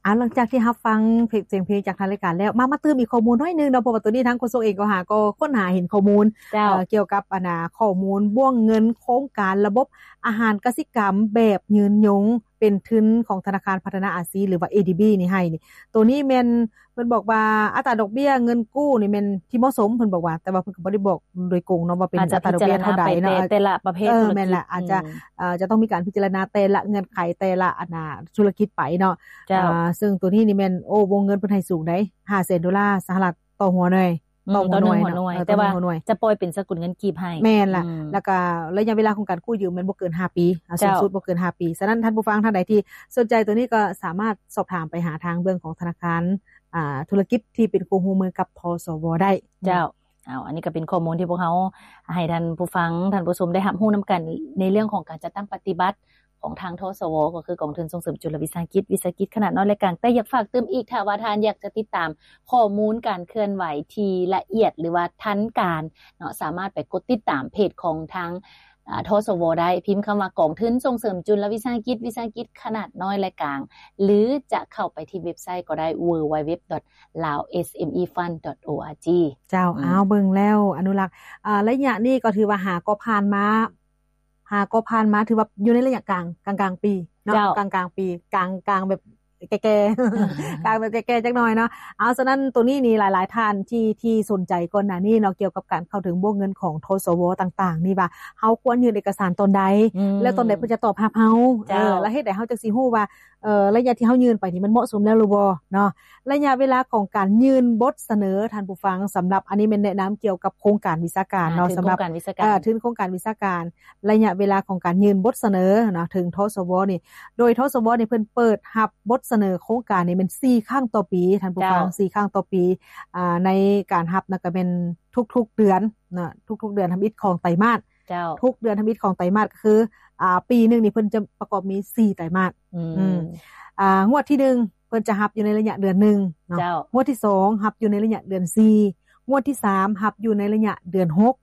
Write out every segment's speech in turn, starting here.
ອ່າ ຫຼັງຈາກທີ່ຮັບຟັງເພງ ສຽງເພງຈາກທາງລາຍການແລ້ວ ມາ ມາຕື່ມອີກຂໍ້ມູນໜ້ອຍໜຶ່ງເນາະ ເພາະວ່າໂຕນີ້ທາງໂຄສົກເອງກໍຫາ ກໍຄົ້ນຫາເຫັນຂໍ້ມູນ ເຈົ້າ ເອີ ກ່ຽວກັບ ອັນນ່າ ຂໍ້ມູນບ່ວງເງິນໂຄງການລະບົບອາຫານກະສິກຳແບບຍືນຍົງ ເປັນທຶນຂອງທະນາຄານພັດທະນາອາຊີ ຫຼືວ່າ ເອດີບີ ນີ້ໃຫ້ນີ້ ໂຕນີ້ແມ່ນ ເພິ່ນບອກວ່າອັດຕາດອກເບ້ຍເງິນກູ້ນີ້ແມ່ນທີ່ເໝາະສົມ ເພິ່ນບອກວ່າ ແຕ່ວ່າເພິ່ນກໍບໍ່ໄດ້ບອກໂດຍກົງເນາະ ວ່າເປັນອັດຕາດອກເບ້ຍເທົ່າໃດເນາະ ອາດຈະພິຈາລະນາໄປແຕ່ ເອີ ແຕ່ລະປະເພດທຸລະກິດ ແມ່ນລະ ອາດຈະ ອືມ ເອີ ຈະຕ້ອງມີການພິຈາລະນາແຕ່ລະເງື່ອນໄຂ ແຕ່ລະອັນນ່າ ທຸລະກິດໄປເນາະ ເຈົ້າ ເອີ ເຊິ່ງໂຕນີ້ນີ້ແມ່ນ ໂອ້ ວົງເງິນເພິ່ນໃຫ້ສູງໃດ໋ ຫ້າແສນໂດລາສະຫະລັດຕໍ່ຫົວໜ່ວຍ ອືມ ຕໍ່ຫົວໜ່ວຍເນາະ ຕໍ່ໜຶ່ງຫົວໜ່ວຍ ເອີ ແຕ່ວ່າ ຕໍ່ໜຶ່ງຫົວໜ່ວຍ ຈະປ່ອຍເປັນສະກຸນເງິນກີບໃຫ້ ແມ່ນລະ ອືມ ແລ້ວກໍໄລຍະເວລາຂອງການກູ້ຢືມແມ່ນບໍ່ເກີນຫ້າປີ ເຈົ້າ ສູງສຸດບໍ່ເກີນຫ້າປີ ສະນັ້ນທ່ານຜູ້ຟັງທ່ານໃດທີ່ສົນໃຈໂຕນີ້ກໍສາມາດສອບຖາມໄປຫາທາງເບື້ອງຂອງທະນາຄານ ອ່າ ທຸລະກິດທີ່ເປັນຄູ່ຮ່ວມມືກັບ ທສວ ໄດ້ ເຈົ້າ. ເອົາ ອັນນີ້ກໍເປັນຂໍ້ມູນທີ່ພວກເຮົາໃຫ້ທ່ານຜູ້ຟັງ ທ່ານຜູ້ຊົມໄດ້ຮັບຮູ້ນຳກັນ ໃນເລື່ອງຂອງການຈັດຕັ້ງປະຕິບັດຂອງທາງ ທສວ ກໍຄືກອງທຶນສົ່ງເສີມຈຸລະວິສາຫະກິດ ວິສາຫະກິດຂະໜາດນ້ອຍ ແລະ ກາງ. ແຕ່ຢາກຝາກຕື່ມອີກ ຖ້າວ່າທ່ານຢາກຈະຕິດຕາມຂໍ້ມູນການເຄື່ອນໄຫວທີ່ລະອຽດ ຫຼືວ່າທັນການເນາະ ສາມາດໄປກົດຕິດຕາມເພຈຂອງທາງ ອ່າ ທສວ ໄດ້ ພິມຄຳວ່າກອງທຶນສົ່ງເສີມຈຸລະວິສາຫະກິດ ວິສາຫະກິດຂະໜາດນ້ອຍ ແລະ ກາງ ຫຼືຈະເຂົ້າໄປທີ່ເວັບໄຊກໍໄດ້ www.laosmefund.org ເຈົ້າ ອືມ ເອົາເບິ່ງແລ້ວອະນຸລັກ ອ່າ ໄລຍະນີ້ກໍຖືວ່າຫາກໍຜ່ານມາ ຫາກໍຜ່ານມາ ຖືວ່າຢູ່ໃນໄລຍະກາງ ກາງໆປີເນາະ ເຈົ້າ ກາງໆປີ ກາງໆແບບແກ່ໆ ກາງແບບແກ່ໆຈັກໜ່ອຍເນາະ ເອົາ ສະນັ້ນໂຕນີ້ນີ້ຫຼາຍໆທ່ານທີ່ ທີ່ສົນໃຈກ່ອນໜ້ານີ້ເນາະ ກ່ຽວກັບການເຂົ້າເຖິງບົວເງິນຂອງ ທສວ ຕ່າງໆນີ້ ວ່າເຮົາຄວນຍື່ນເອກະສານຕອນໃດ ອືມ ແລ້ວຕອນໃດເພິ່ນຈະຕອບຮັບເຮົາ ເຈົ້າ ເອີ ແລ້ວເຮັດໃດເຮົາຈັ່ງຊິຮູ້ວ່າ ເອີ ໄລຍະທີ່ເຮົາຍື່ນໄປນີ້ມັນເໝາະສົມແລ້ວຫຼືບໍ່ເນາະ ໄລຍະເວລາຂອງການຍື່ນບົດສະເໜີ ທ່ານຜູ້ຟັງ ສຳລັບ ອັນນີ້ແມ່ນແນະນຳກ່ຽວກັບໂຄງການວິຊາການເນາະ ອ່າ ສຳລັບ ທຶນໂຄງການວິຊາການ ເອີ ທຶນໂຄງການວິຊາການ ໄລຍະເວລາຂອງການຍື່ນບົດສະເໜີເນາະ ເຖິງ ທສວ ນີ້ ໂດຍ ທສວ ນີ້ເພິ່ນເປີດຮັບບົດສະເໜີໂຄງການນີ້ແມ່ນສີ່ຄັ້ງຕໍ່ປີ ທ່ານຜູ້ຟັງ ເຈົ້າ ສີ່ຄັ້ງຕໍ່ປີ ອ່າ ໃນການຮັບນັ້ນກໍແມ່ນທຸກໆເດືອນເນາະ ທຸກໆເດືອນທຳອິດຂອງໄຕມາດ ເຈົ້າ ທຸກເດືອນທຳອິດຂອງໄຕມາດກໍຄື ອ່າ ປີໜຶ່ງນີ້ເພິ່ນຈະປະກອບມີສີ່ໄຕມາດ ອືມ ອືມ ອ່າ ງວດທີໜຶ່ງເພິ່ນຈະຮັບຢູ່ໃນໄລຍະເດືອນໜຶ່ງເນາະ ເຈົ້າ ງວດທີສອງຮັບຢູ່ໃນໄລຍະເດືອນສີ່ ງວດທີສາມຮັບຢູ່ໃນໄລຍະເດືອນຫົກ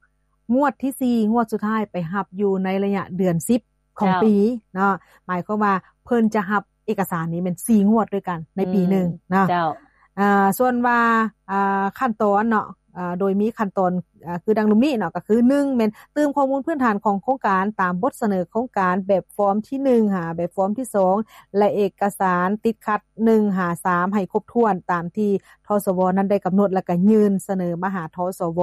ງວດທີສີ່ ງວດສຸດທ້າຍໄປຮັບຢູ່ໃນໄລຍະເດືອນສິບຂອງ ເຈົ້າ ປີເນາະ ໝາຍຄວາມວ່າເພິ່ນຈະຮັບເອກະສານນີ້ແມ່ນສີ່ງວດດ້ວຍກັນໃນປີໜຶ່ງ ອືມ ເນາະ ເຈົ້າ ອ່າ ສ່ວນວ່າ ອ່າ ຂັ້ນຕອນເນາະ ອ່າ ໂດຍມີຂັ້ນຕອນ ອ່າ ຄືດັ່ງລຸ່ມນີ້ເນາະ ກໍຄື ໜຶ່ງ ແມ່ນຕື່ມຂໍ້ມູນພື້ນຖານຂອງໂຄງການຕາມບົດສະເໜີໂຄງການແບບຟອມທີໜຶ່ງ ຫາແບບຟອມທີສອງ ແລະ ເອກະສານຕິດຂັດໜຶ່ງຫາສາມໃຫ້ຄົບຖ້ວນຕາມທີ່ ທສວ ນັ້ນໄດ້ກຳນົດ ແລ້ວກໍຍື່ນສະເໜີມາຫາ ທສວ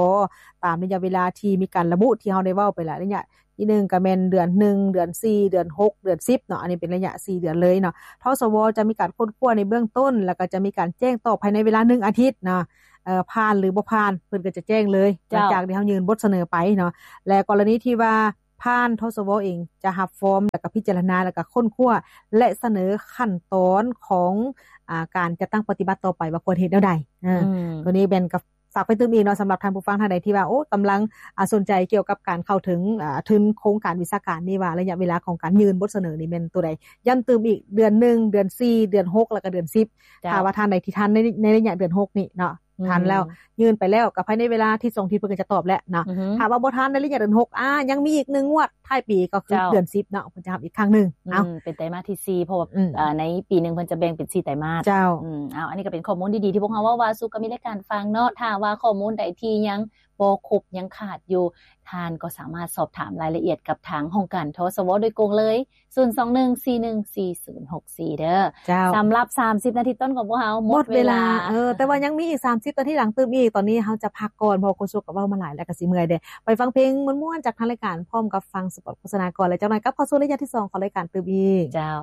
ຕາມໄລຍະເວລາທີ່ມີການລະບຸທີ່ເຮົາໄດ້ເວົ້າໄປແລ້ວ ໄລຍະທີໜຶ່ງກໍແມ່ນເດືອນໜຶ່ງ ເດືອນສີ່ ເດືອນຫົກ ເດືອນສິບເນາະ ອັນນີ້ເປັນໄລຍະສີ່ເດືອນເລີຍເນາະ ທສວ ຈະມີການຄົ້ນຄວ້າໃນເບື້ອງຕົ້ນ ແລ້ວກໍຈະມີການແຈ້ງຕອບພາຍໃນເວລາໜຶ່ງອາທິດເນາະ ເອີ ຜ່ານຫຼືບໍ່ຜ່ານ ເພິ່ນກໍຈະແຈ້ງເລີຍ ເຈົ້າ ຫຼັງຈາກທີ່ເຮົາຍື່ນບົດສະເໜີໄປເນາະ ແລະ ກໍລະນີທີ່ວ່າຜ່ານ ທສວ ເອງຈະຮັບຟອມ ແລ້ວກໍພິຈາລະນາ ແລ້ວກໍຄົ້ນຄວ້າ ແລະ ສະເໜີຂັ້ນຕອນຂອງ ອ່າ ການຈັດຕັ້ງປະຕິບັດຕໍ່ໄປວ່າຄວນເຮັດແນວໃດ ເອີ ອືມ ໂຕນີ້ແມ່ນກໍຝາກໄປຕື່ມອີກເນາະ ສຳລັບທ່ານຜູ້ຟັງທ່ານໃດທີ່ວ່າ ໂອ້ ກຳລັງ ອ່າ ສົນໃຈກ່ຽວກັບການເຂົ້າເຖິງ ອ່າ ທຶນໂຄງການວິຊາການນີ້ ວ່າໄລຍະເວລາຂອງການຍື່ນບົດສະເໜີນີ້ແມ່ນໂຕໃດ ຢ້ຳຕື່ມອີກ ເດືອນໜຶ່ງ ເດືອນສີ່ ເດືອນຫົກ ແລ້ວກໍເດືອນສິບ ເຈົ້າ ຖ້າວ່າທ່ານໃດທີ່ທັນໃນ ໃນໄລຍະເດືອນຫົກນີ້ເນາະ ອືມ ທັນແລ້ວ ຍື່ນໄປແລ້ວ ກໍພາຍໃນເວລາທິດສອງທິດເພິ່ນກໍຈະຕອບແລ້ວເນາະ ອືຮຶ ຖ້າວ່າບໍ່ທັນໃນໄລຍະເດືອນຫົກ ອ່າ ຍັງມີອີກໜຶ່ງງວດທ້າຍປີ ກໍຄື ເຈົ້າ ເດືອນສິບເນາະ ເພິ່ນຈະຮັບອີກຄັ້ງໜຶ່ງ ອືມ ເອົາ ເປັນໄຕມາດທີສີ່ ເພາະວ່າ ອືມ ເອີ ໃນປີໜຶ່ງເພິ່ນຈະແບ່ງເປັນສີ່ໄຕມາດ ເຈົ້າ ອືມ ເອົາ ອັນນີ້ກໍເປັນຂໍ້ມູນດີໆທີ່ພວກເຮົາເວົ້າວ່າສູ່ກໍມີລາຍການຟັງເນາະ ຖ້າວ່າຂໍ້ມູນໃດທີ່ຍັງບໍ່ຄົບ ຍັງຂາດຢູ່ ທ່ານກໍສາມາດສອບຖາມລາຍລະອຽດກັບທາງຫ້ອງການ ທສວ ໂດຍກົງເລີຍ ສູນສອງໜຶ່ງສີ່ໜຶ່ງສີ່ສູນຫົກສີ່ ເດີ ເຈົ້າ ສຳລັບສາມສິບນາທີຕົ້ນຂອງພວກເຮົາໝົດເວລາ ໝົດເວລາ ເອີ ແຕ່ວ່າຍັງມີອີກສາມສິບນາທີຫຼັງຕື່ມອີກ ຕອນນີ້ເຮົາຈະພັກກ່ອນ ເພາະໂຄສົກກໍເວົ້າມາຫຼາຍແລ້ວກໍຊິເມື່ອຍເດ້ ໄປຟັງເພງມ່ວນໆຈາກທາງລາຍການ ພ້ອມກັບຟັງສະປອດໂຄສະນາກ່ອນ ແລ້ວຈັກໜ່ອຍກັບເຂົ້າສູ່ໄລຍະທີສອງຂອງລາຍການຕື່ມອີກ ເຈົ້າ.